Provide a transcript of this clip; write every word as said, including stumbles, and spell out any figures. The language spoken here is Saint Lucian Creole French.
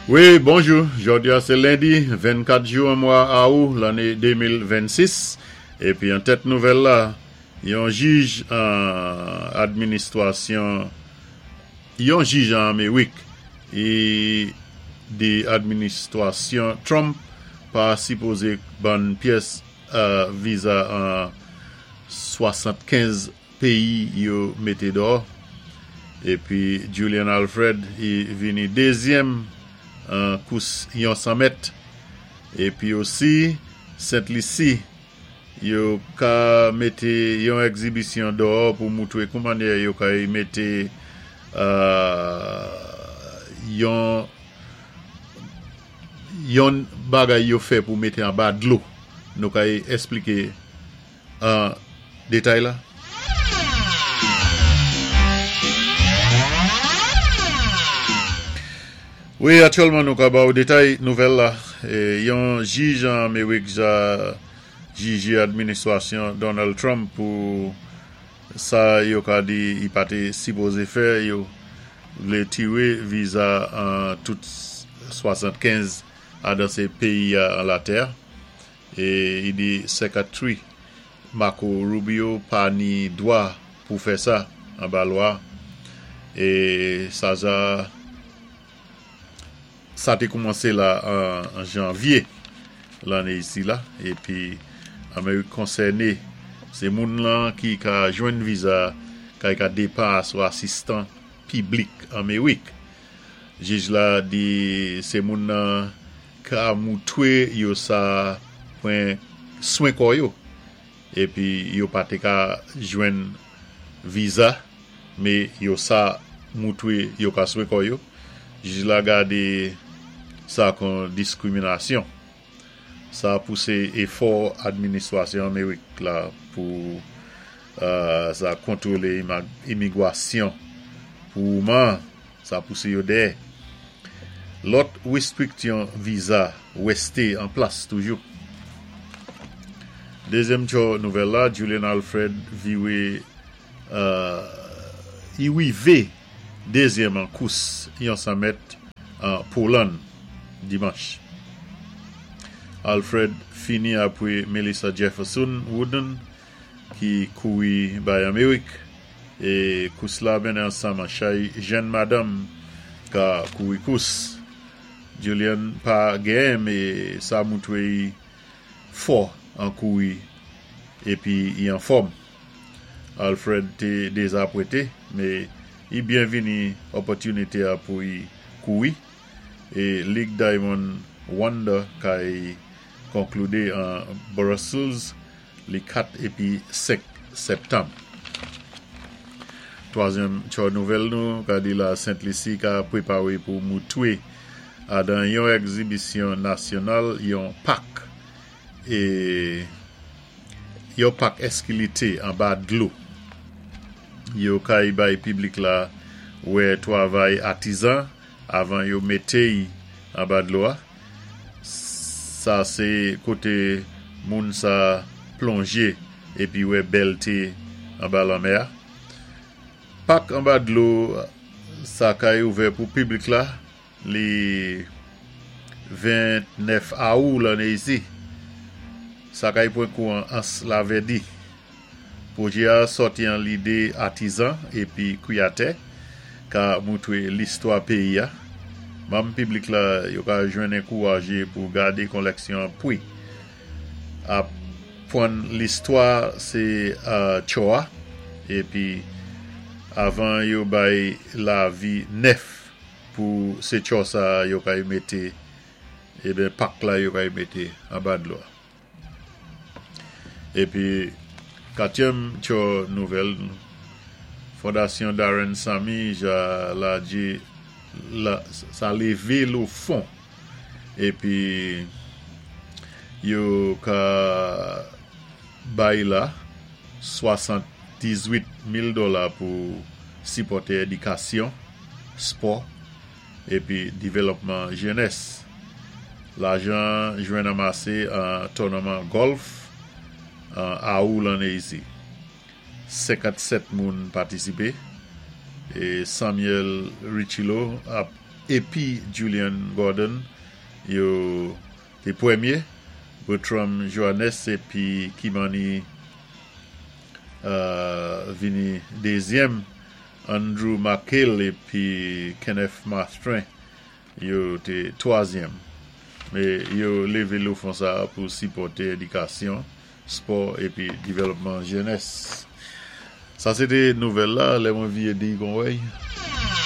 Wi, bonjou. Jòdi-a sé lendi vennkat jou an mwa awou lanné de mil vennsis. Épi an tèt nouvèl la, yon jij an administwasyon, yon jij an Amerik i di administwasyon Trump pa sipozé ban pyès euh, viza an swasannkenz péyi yo mété dò. Épi Julien Alfred i vini dézyèm an kous yon san mèt. Épi osi Sent Lisi yo ka mété yon egzibisyon dò pou moutwé kouman yo ka mété euh, yon yon bagay yo fè pou mété anba dlo. Nou ka éspliké an détay la. Wi, aktyèlman nou ka ba ou détay nouvèl la. É, yon jij an Amerik ja jijé administwasyon Donald Trump pou sa yo ka di i pa té sipozé fè. Yo vlé tiré viza an tout swasannkenz adan sé péyi an latè. É i di Secretary Marco Rubio pa ni dwa pou fè sa anba lwa. É sa sa sa té koumansé la an, an janvyé lanné isi la. Épi Amerik konsèné sé moun lan ki ka jwenn viza kay ka dépa sou asistan piblik Amerik. Jij la di sé moun nan ka moutwé yo sa pwan swen kò yo. Épi yo pa té ka jwenn viza, mé yo sa moutwé yo ka swen kò yo. Jij la gadé sa kon diskwiminasyon. Sa pousé éfò administwasyon Amerik la pou euh, sa kontwolé imigwasyon pou man, sa pousé yo dèyè. Lòt wéstriksyon viza wésté an plas toujou. Dézyèm tjo nouvèl la, Julien Alfred viwé euh, i wivé dézyèm an kous yon san mèt an Poland dimanch. Alfred fini apwé Melissa Jefferson Wooden ki kouri bay Amerik é kous la mennen ansanm an chay jenn madanm ka kouri kous. Julien pa genyen, mé sa moutwé i fò an kouri épi i an fòm. Alfred té dézapwenté, mé i byenvini opòtinité a pou i kouri. É Lig Diamond Wanda kay konkloudé an Brussels li kat épi senk septanm. Twazyèm tjo nouvèl nou, ka di la Sent Lisi ka pwépawé pou moutwé adan yon egzibisyon nasyonal yon pak é yon pak eskilti anba dlo. Yo kay bay piblik la wè twavay atizan avan yo mété anba dlo a. Sa sé koté moun sa plonjé épi wè bèlté anba lanmè a. Pak anba dlo sa kay ouvè pou piblik la li vennèf awou lanné isi. Sa kay pwan kou an Ans Lavèdi. Pwojé a sòti an lidé atizan épi kwiyatè ka moutwé listwa péyi a. Manm piblik la yo ka jwenn ankouwajé pou gadé kolèksyon pwi. Apwann listwa sé uh, tjo a épi avan yo bay lavi nèf pou sé tjo sa yo kay mété eben pak la yo kay mété anba dlo. Épi katyèm tjo nouvèl, Fondasyon Darren Sammy ja la di la, sa lévé lo fon épi yo ka bay la swasanndizuit mil dola pou sipòté édikasyon, spò épi dévlopman jenès. Lajan jwenn anmasé an tounaman gòlf an awou lanné isi. senkannsèt moun patisipé é Samuel Richilo ap épi Julian Gordon, yo té pwémyé. Bertram Johannes épi Kimani euh, vini dézièm. Andrew McHale épi Kenneth Mastrin, yo té twazièm. Mé yo lévé lé fon sa pou sipòté édikasyon, spò épi dévlòpman jenès. Sa sé té nouvèl la, lè mwen vyé di kon wèy.